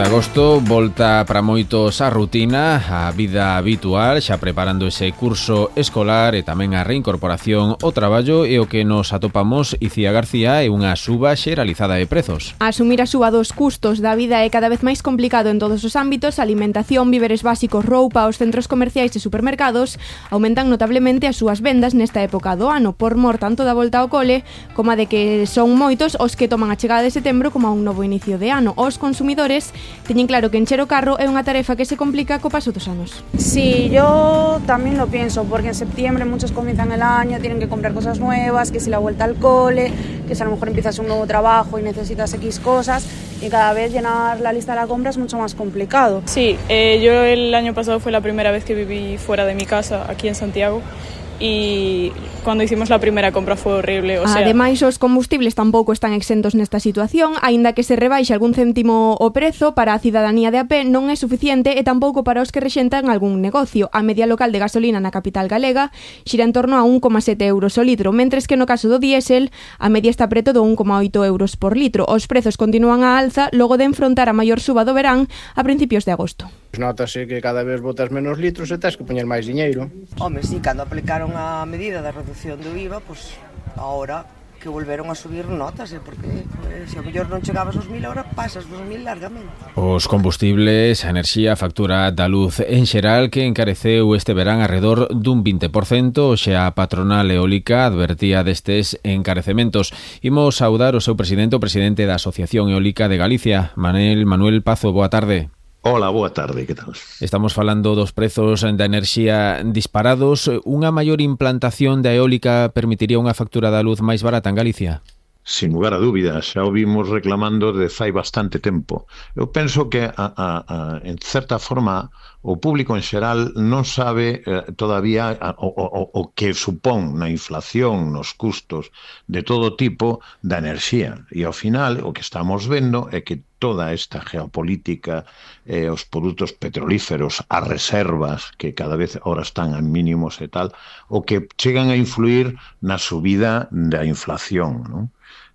de agosto volta para moitos a rutina, a vida habitual, xa preparando ese curso escolar e tamén a reincorporación ao traballo, e o que nos atopamos, Icía García, é unha suba xeralizada de prezos. Asumir a suba dos custos da vida é cada vez máis complicado en todos os ámbitos. Alimentación, víveres básicos, roupa, os centros comerciais e supermercados aumentan notablemente as súas vendas nesta época do ano, por mor tanto da volta ao cole como a de que son moitos os que toman a chegada de setembro como a un novo inicio de ano. Os consumidores teñen claro que encher o carro é unha tarefa que se complica co paso dos anos. Sí, yo también lo pienso, porque en septiembre muchos comienzan el año, tienen que comprar cosas nuevas, que si la vuelta al cole, que si a lo mejor empiezas un nuevo trabajo y necesitas X cosas, y cada vez llenar la lista de la compra es mucho más complicado. Sí, yo el año pasado fue la primera vez que viví fuera de mi casa, aquí en Santiago, y cuando hicimos la primera compra fue horrible. Ademais, os combustibles tampouco están exentos nesta situación, aínda que se rebaixe algún céntimo o prezo para a cidadanía de a pé non é suficiente e tampouco para os que rexentan algún negocio. A media local de gasolina na capital galega xira en torno a 1,7 euros o litro, mentres que no caso do diésel a media está preto do 1,8 euros por litro. Os prezos continúan á alza logo de enfrontar a maior suba do verán a principios de agosto. Notase que cada vez botas menos litros e tens que poñer máis diñeiro. Home, sí, cando aplicaron a medida da reducción do IVA, pois agora que volveron a subir notas, porque se ao mellor non chegabas aos 1.000, agora pasas dos 1.000 largamente. Os combustibles, a enerxía, a factura da luz en xeral, que encareceu este verán arredor dun 20%, xa a patronal eólica advertía destes encarecementos. Imos saudar o seu presidente, o presidente da Asociación Eólica de Galicia, Manuel Pazo. Boa tarde. Hola, boa tarde, que tal? Estamos falando dos prezos da enerxía disparados. Unha maior implantación da eólica permitiría unha factura da luz máis barata en Galicia? Sin lugar a dúbidas, xa o vimos reclamando de fai bastante tempo. Eu penso que, en certa forma, o público en xeral non sabe todavía o que supón na inflación, nos custos de todo tipo da enerxía. E ao final, o que estamos vendo é que toda esta geopolítica, os produtos petrolíferos, as reservas, que cada vez ahora están a mínimos e tal, o que chegan a influir na subida da inflación, non?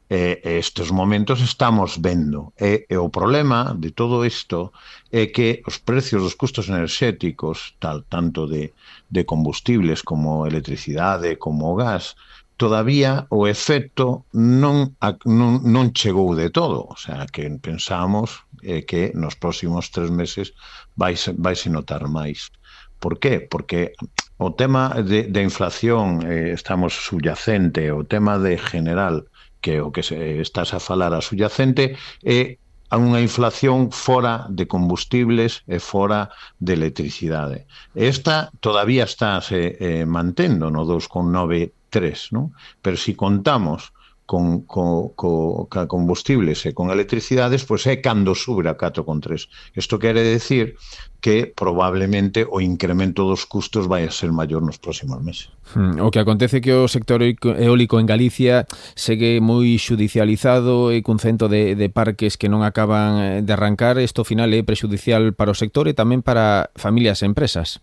Estes momentos estamos vendo. E o problema de todo isto é que os precios dos custos enerxéticos, tanto de combustibles como electricidade, como o gas, todavía o efecto non chegou de todo. O sea, que pensamos que nos próximos 3 meses vaise notar máis. Por qué? Porque o tema de inflación estamos subyacente, o tema de general, que o que estás a falar a subyacente, é unha inflación fora de combustibles e fora de electricidade. Esta todavía está se mantendo no 2,93, non? Pero se contamos con combustibles e con electricidades, pois é cando sube a 4,3. Isto quere decir que probablemente o incremento dos custos vai a ser maior nos próximos meses. O que acontece é que o sector eólico en Galicia segue moi xudicializado e cun cento de parques que non acaban de arrancar. Isto ao final é prexudicial para o sector e tamén para familias e empresas.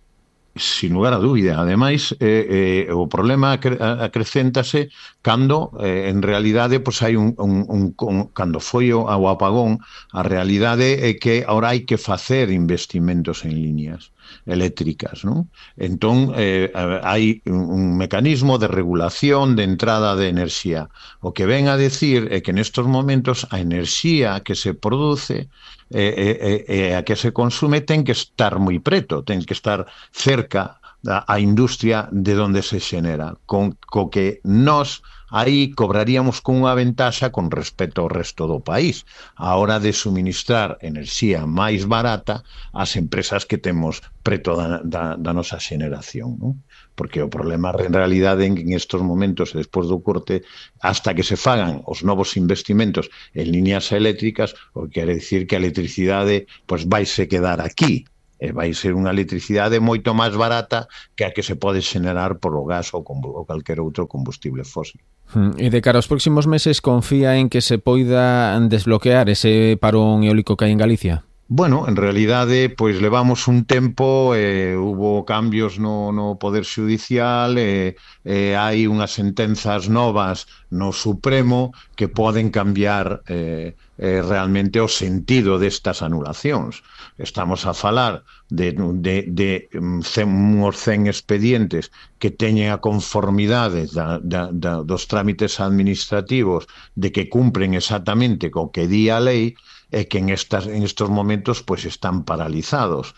Sin lugar a dúbida. Ademais, o problema acrecéntase cando, en realidade, pois hai cando foi o apagón, a realidade é que ahora hai que facer investimentos en líneas eléctricas, non? Entón, hai un mecanismo de regulación de entrada de enerxía. O que ven a decir é que nestos momentos a enerxía que se produce e a que se consume ten que estar moi preto, ten que estar cerca da industria de onde se xenera, co que nós aí cobraríamos con unha ventaxa con respecto ao resto do país, a hora de suministrar enerxía máis barata ás empresas que temos preto da nosa xeneración, non? Porque o problema en realidade en estos momentos, despois do corte, hasta que se fagan os novos investimentos en líneas eléctricas, o que quere dicir que a electricidade pois vaise quedar aquí, e vai ser unha electricidade moito máis barata que a que se pode xenerar por o gas ou calquer outro combustible fósil. E de cara aos próximos meses, confía en que se poida desbloquear ese parón eólico que hai en Galicia? Bueno, en realidade, pois levamos un tempo, hubo cambios no Poder Xudicial, hai unhas sentenzas novas no Supremo que poden cambiar realmente o sentido destas anulacións. Estamos a falar de uns 100 expedientes que teñen a conformidade dos trámites administrativos de que cumpren exactamente co que di a lei, e que en estos momentos pues están paralizados.